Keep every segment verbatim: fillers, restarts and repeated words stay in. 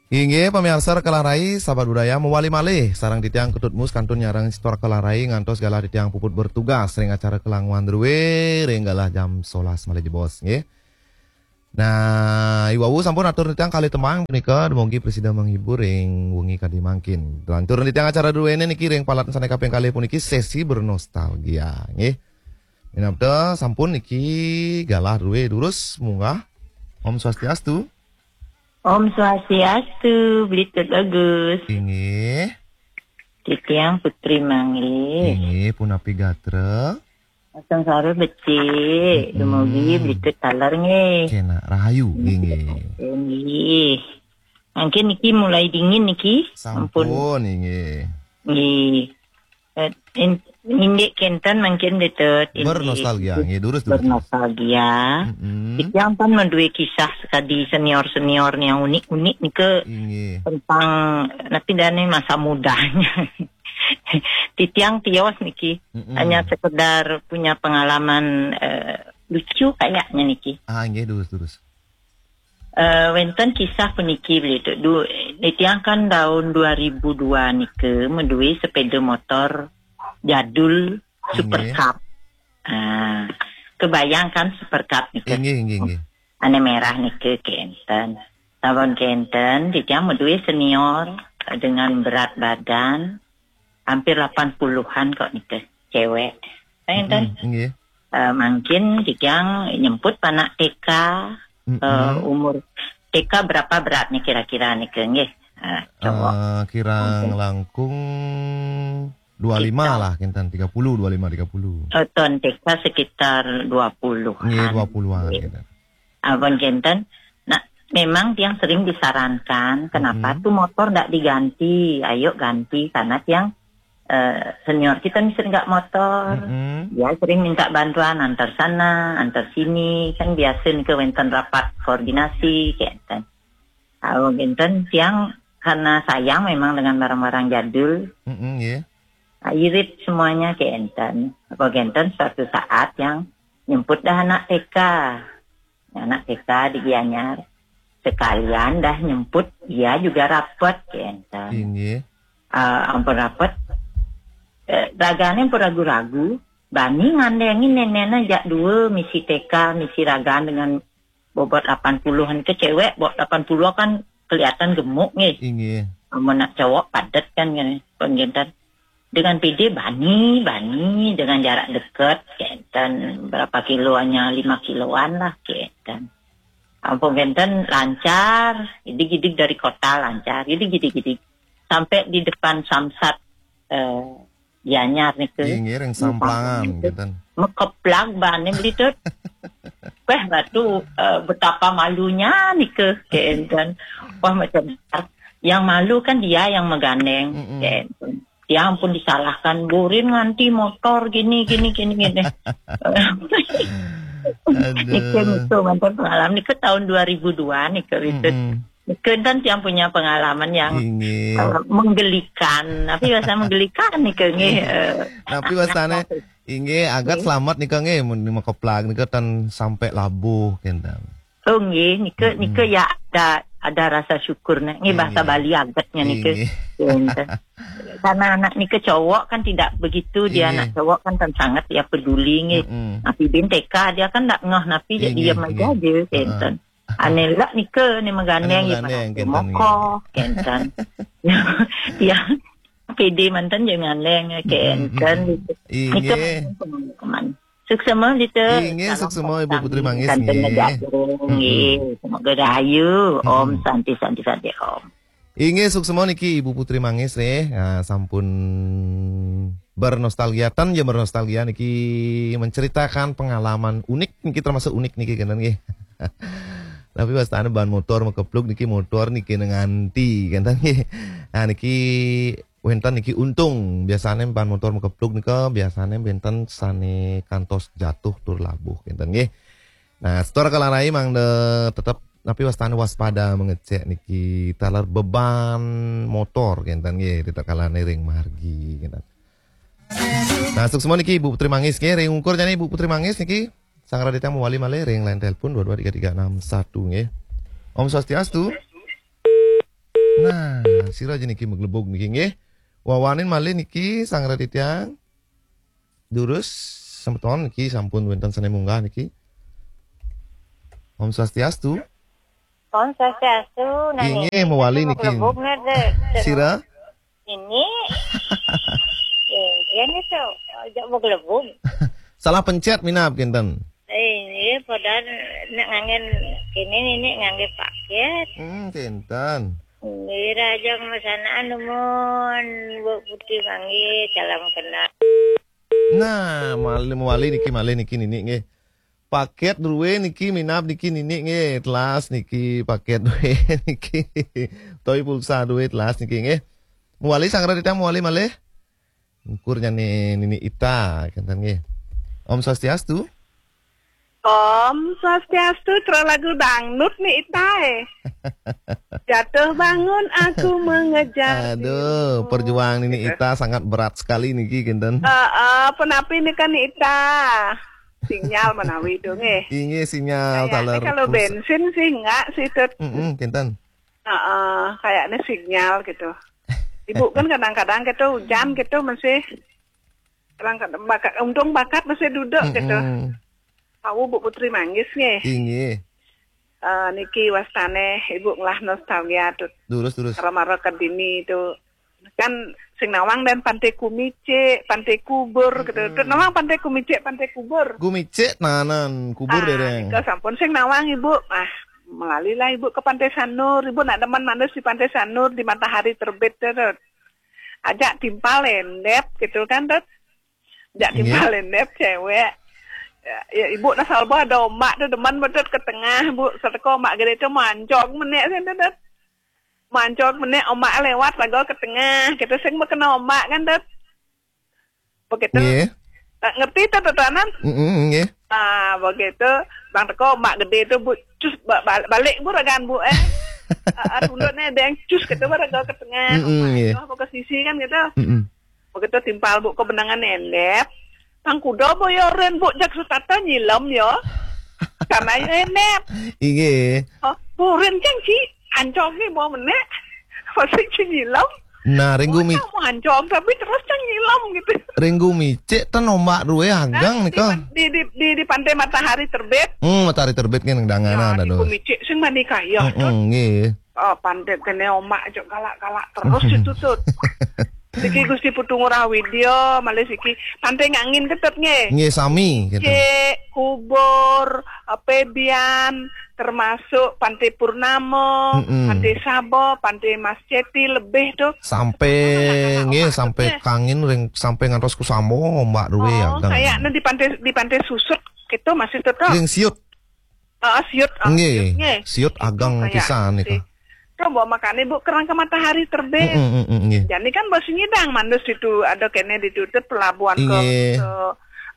Inggih, pamiarsa Raka Larai, sahabat budaya, mawali malih sareng titiang Ketut Mus kantun nyarengin Sister Raka Larai ngantos galah titiang puput bertugas ring acara Kelang One Rue ring galah jam solas malih jebos, nggih. Nah, iwau sampun atur titiang kalih tembang punika, dumugi prasida menghibur ring wengi kadi mangkin. Lantur titiang acara druene niki ring palat sane kaping kalih puniki sesi bernostalgia, nggih. Minabda sampun niki galah drue durus munggah. Om Swastiastu. Om Swastiastu, Blitut Bagus. Inggih. Titiang Putri Manggis. Inggih, punapi gatra? Sangsara becik, dumugi Blitut taler nggih. Kenak rahayu, inggih. Inggih. Mangkin niki mulai dingin niki. Sampun, inggih. Nggih. Eh, in-, indik kenten mangkin Blitut. Inggih. Bernostalgia, nggih, durus, durus, durus. Bernostalgia. Mm-mm. Titiang pun madue kisah sakadi senior-senior yang unik-unik nika. Inggih. Tentang, napi dane masa mudanya. Titiang tios niki. Mm-mm. Hanya sekedar punya pengalaman, eh, lucu kayaknya niki. Ah, nggih, durus, durus. Eh, wenten kisah puniki Blitut. Du-, titiang kan tahun dua ribu dua nika madue sepeda motor jadul. Inggih. Super Cup. Ah, kebayangkan Super Cup nika. Inggih, inggih, inggih. Ane merah nika kenten. Sampun kenten, titiang madue senior dengan berat badan hampir lapan puluhan kok nika, cewek. Kenten. Mm-mm, inggih. Eh, mangkin titiang nyemput anak T K, eh, umur T K berapa beratnya kira-kira nika, nggih? Eh, cowok. Eh, kirang langkung dua lima lah, kenten, tiga puluh, dua lima, tiga puluh. Eh, ton T K sekitar dua puluhan. Nggih, dua puluhan, nggih, kenten. Ampun kenten. Nah, memang tiang sering disarankan, kenapa tuh motor ndak diganti? Ayo ganti, karena tiang, eh, senior kita nih sering nggak motor. Mm-mm. Dia sering minta bantuan antar sana, antar sini, kan biasa nih ke wenten rapat koordinasi, kenten. Ampun kenten, tiang karena sayang memang dengan barang-barang jadul. Mm-mm, nggih. Nah, irit semuanya kenten. Ampun kenten, suatu saat tiang nyemput dah anak T K. Anak T K di Gianyar. Sekalian dah nyemput, dia juga rapet, kenten. Inggih. Ah, ampun rapet. Eh, ragane ampun ragu-ragu. Bani ngandengin nenekne jak dua, misi T K, misi ragan dengan bobot lapan puluhan ke cewek, bobot lapan puluh kan kelihatan gemuk nggih. Inggih. Amun nak cowok padet kan, kan, kenten. Dengan pede bani, bani, dengan jarak dekat, kenten, berapa kiloannya, lima kiloan lah, kenten. Ampun kenten, lancar, idig-idig dari kota lancar, idig-idig-idig. Sampai di depan Samsat, eh, Gianyar nika. Inggih, ring Samplangan, kenten. Makeplag bane Blitut. Wah, batu, eh, betapa malunya nika, kenten. Wah, macam yang malu kan dia yang magandeng, kenten. Dia ampun disalahkan, burin nganti motor gini, gini, gini, gini. Aduh. Nika, nika, mantan pengalaman nika tahun dua ribu dua nika, Blitut. Mm-mm. Kenten tiang punya pengalaman yang, inggih, eh, menggelikan. Tapi bahasa menggelikan nika nggih, eh, tapi bahasane, inggih, agat selamat nika nggih, mun makeplag nika tan sampai labuh kenten. Oh nggih, nika, nika ya ada, ada rasa syukur nih. Nggih, bahasa Bali agatnya nika. Inggih. Kenten. Karena anak nika cowok kan tidak begitu, dia anak cowok kan tan sangat ya peduli nggih. Mm-mm. Napi bin T K dia kan ndak ngeh napi, dia diam aja, kenten. Ane lak nika ne magandeng, ane magandeng, ya, kenten, mokoh, kenten. Ya, pede mantan je ngandeng, kenten. Inggih. Nika pengalaman. Suksema, Blitut. Inggih, salam suksema, Ibu Putri Manggis, kenten nggih. Nggih, semoga rahayu. Om Santi, Santi, Santi, Om. Inggih, suksema niki Ibu Putri Manggis nggih. Ah, sampun bernostalgia, tan ya bernostalgia niki, menceritakan pengalaman unik niki, termasuk unik niki kenten nggih. Tapi wastane ban motor makeplug niki, motor niki nganti kenten nggih. Nah, niki wenten niki untung, biasane ban motor makeplug nika biasane wenten sane kantos jatuh tur labuh kenten nggih. Nah, setor kalarai mangda tetep napi wastane waspada mengecek niki taler beban motor kenten nggih, ritatkala ring margi kenten. Nah, suksema niki Ibu Putri Manggis nggih, ring ungkur jani Ibu Putri Manggis niki sang raditang mawali malih ring line telepon dua dua tiga tiga enam satu nggih. Om Swastiastu. Nah, sira aja niki maglebug niki nggih. Wawanin malih niki Sang Raditya. Durus semeton niki sampun wénten sané munggah niki. Om Swastiastu. Om Swastiastu. Nah, inggih, niki mawali niki. Maglebug nih, Dek. Sira? Ini. Ini tuh, aja maglebug. Salah pencet minab kinten. Eh, ini padahal nak nganggé ini, ini nganggé paket. Hmm, kinten. Ini raja masanaan numun, Bu Putih manggih, salam kenal. Nah, malih mawali niki malih niki nini nggih. Paket duwe niki minab niki nini nggih, telas niki paket duwe niki. Toy pulsa duwe telas niki nggih. Mawali Sang Raditya mawali malih. Ukur nyane nini Ita kinten nggih. Om Swastiastu. Om Swastiastu, terus lagu dangdut nih Ita eh. Jatuh bangun aku mengejar. Aduh, dirimu. Perjuangan ini Ita sangat berat sekali niki kinten. Eh, eh, penapi nih kan Ita. Sinyal menawi dong eh. Inggih sinyal. Kayaknya taler kalau pulsa. Bensin sih enggak sih Tut. Mm-mm, kinten. Heeh, kayaknya sinyal gitu. Ibu kan kadang-kadang gitu hujan gitu masih kadang-kadang bakat untung bakat masih duduk gitu. Mm-mm. Tahu Bu Putri Manggis nggih. Inggih. Eh, niki wastane Ibu ngelah nostalgia Tut. Durus, durus. Karo maro ke dini itu kan sing nawang dan Pantai Kumicik, Pantai Kubur gitu. Mm-mm. Tut nawang Pantai Kumicik, Pantai Kubur. Kumicik nanan kubur. Nah, dereng. Nika sampun sing nawang Ibu. Ah, melalilah Ibu ke Pantai Sanur. Ibu nak demen manus di Pantai Sanur di matahari terbit Tut. Ajak timpal endep gitu kan Tut. Jak timpal endep cewek. Ya, ya, ibu nak salba ada omak tu demen betul ke tengah, Bu. Seteko omak gede tu mancong menek sing tu, Dut. Mancong menek omak lewat lagu ke tengah. Kita sing bekena omak kan, Dut. Begitu. Nggih. Eh, ngerti tu, Dut, anan? Mm-mm, nggih. Ah, begitu. Bang teko omak gede tu, Bu. Cus ba- bal- balik, Bu, ragan, Bu, eh. Ah, ah, tunduk ni ada yang cus gitu, Bu, lagu ke tengah. Mm-mm, nggih. Omak ke sisi kan gitu. Mm-mm. Begitu timpal Bu ke benangan endep. Pang kuda boyoren Bu jak sutata nyilem ya. Karena ya endep. Inggih. Oh, burin cang ci. Ancong ni mau menek. Masih ci nyilem. Nah, ring gumi. Mau ancong tapi terus cang nyilem gitu. Ring gumicik ten ombak ruwe agang nika. Di, di, di, di pantai matahari terbit. Hmm, matahari terbit kan danganan. Ya, di gumicik sing mani kaya. Heeh, nggih. Oh, pandai kene omak cok galak-galak terus itu Tut. Siki Gusti Putu Ngurah Widya, malih siki Pantai Ngangin Ketut nggih. Nggih sami gitu. Cek, Kubur, eh, Pebian, termasuk Pantai Purnama, mm-mm. Pantai Sabo, Pantai Mas Ceti lebih tuh. Sampai nggih sampai Kangin ring sampai ngantos Kusamo ombak ruwe ya. Oh, kayaknya di pantai di Pantai Susut gitu masih tetap. Ring Siut. Heeh, Siut, ah, nggih. Siut nggih. Siut ageng pisan niku. Coba makane Bu kerang ke matahari terbit. Heeh, heeh, nggih. Jani kan bos nyidang mandus itu ada kene ditutup pelabuhan ke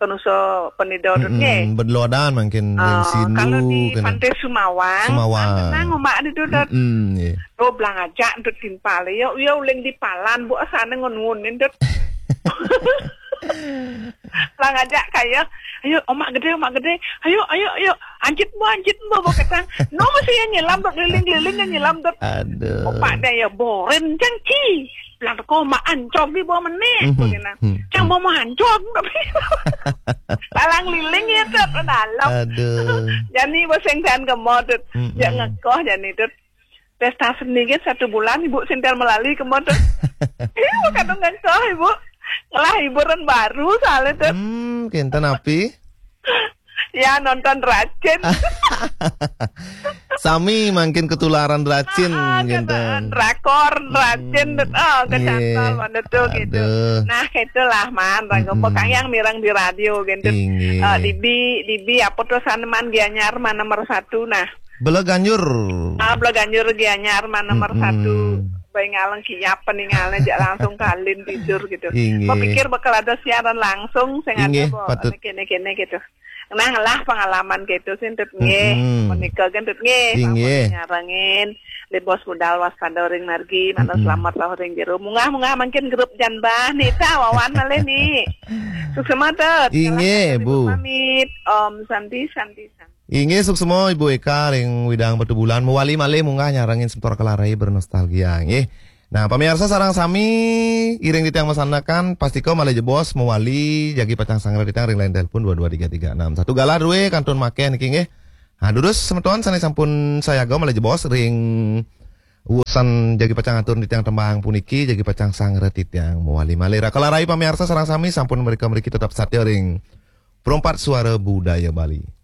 ke Nusa Penida nggih. Bedlodan mungkin. Oh, kalau di Pantai Sumawang, Sumawang. Tenang omak ditutup. Heeh, nggih. Oh, belang aja untuk timpal. Ya, ya uling di palan Bu asane ngun-ngunin dut. Lah ngajak kaya, "Ayo, omak gede, omak gede. Ayo, ayo, ayo. Anjit mo, anjit mo," bawa ketang. No masih ya nyelam dot keliling-keliling ya nyelam dot. Aduh. Opak dia ya boren cang ci. Bilang teko omak ancog di bawah menit. Cang mau mau ancog tapi palang liling ya dot dalam. Aduh. Jani boseng dan kemodot. Ya ngekoh jani dot. Pesta seni kan satu bulan Ibu sintel melali kemana? Ibu kadung ngengkeh Ibu. Ngelah hiburan baru soalnya tuh. Hmm, kinten api? Ya nonton racin. Sami mungkin ketularan racin ah, kinten. Drakor racin hmm, oh kecantol mana tuh gitu. Nah itulah man ragu hmm. Yang mirang di radio gitu. Uh, dibi dibi apa tuh saneman Gianyar mana nomor satu nah. Bela Ganjur. Ah, Bela Ganjur Gianyar mah nomor satu. Bayi ngaleng kiap peninggalnya jak langsung kalin tidur gitu. Mau pikir bakal ada siaran langsung, saya nggak ada kene-kene gitu. Nah lah pengalaman gitu sih tut nggih. Menikah kan tut nggih. Nyarengin di bos budal waspada ring margi mana selamat lah ring jero. Mungah-mungah makin grup janbah nih ta wawan malih nih. Suksema tut. Inggih, Bu. Pamit. Om Santi Santi Santi. Inggih, suksma Ibu Eka ring Widang Batubulan, mawali malih munggah nyarengin semeton Raka Larai bernostalgia, nggih. Nah, pamiarsa sareng sami, iring titiang masandekan, pastika malih jebos mawali jagi pacang sangra titiang ring line telepon dua dua tiga tiga enam satu. Galah drué kantun makéh niki, nggih. Nah, durus semeton sané sampun sayaga malih jebos ring usan jagi pacang atur titiang tembang puniki, jagi pacang sangra titiang mawali malih. Raka Larai pamiarsa sareng sami sampun mrika mriki tetep satia ring Perempat Suara Budaya Bali.